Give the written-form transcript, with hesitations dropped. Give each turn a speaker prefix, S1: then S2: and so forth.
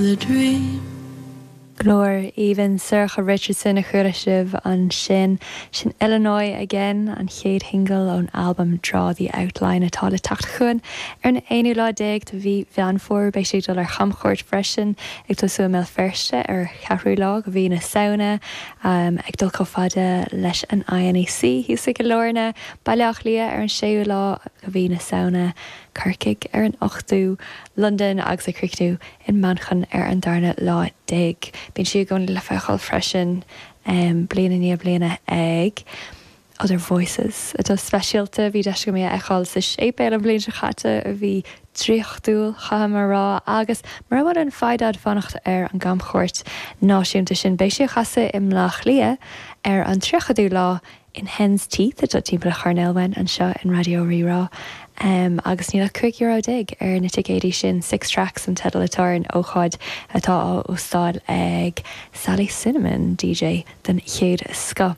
S1: The dream.
S2: Glór aoibhinn Sorcha Richardson a chuala sibh ansin. Sin Illinois Again, an chéad shingil ón albam Draw the Outline atá le teacht chugainn ar an aonú lá déag de mhí Mheán Fómhair. Beidh sí ag dul ar chamchuairt freisin, ag tosú i mBéal Feirste ar an cheathrú lá de mhí na Samhna, ag dul chomh fada leis an INEC thíos i gCill Airne, Baile Átha Cliath ar an séú lá de mhí na Samhna, Corcaigh ar an ochtú, Londain agus ag críochnú i Manchain ar an darna lá déag. Bíonn sí i gcónaí le feiceáil freisin bliain i ndiaidh bliana ag Other Voices, atá speisialta. Bhí deis agam í a fheiceáil sa séipéal an bhliain seo caite, a bhí draíochtúil, chaithfidh mé a rá. Agus mura bhfuil an foighid agat fanacht ar an gcamchuairt náisiúnta sin, beidh sí ag casadh i mBleá Cliath ar an tríochadú lá in Hen's Teeth atá timpeall an choirnéil uainn anseo in Raidió Rí-Rá agus níl ach €15 ar na ticéidí sin. Six Tracks an teideal atá ar an ócáid atá á óstáil ag Sally Cinnamon, DJ den chéad scoth.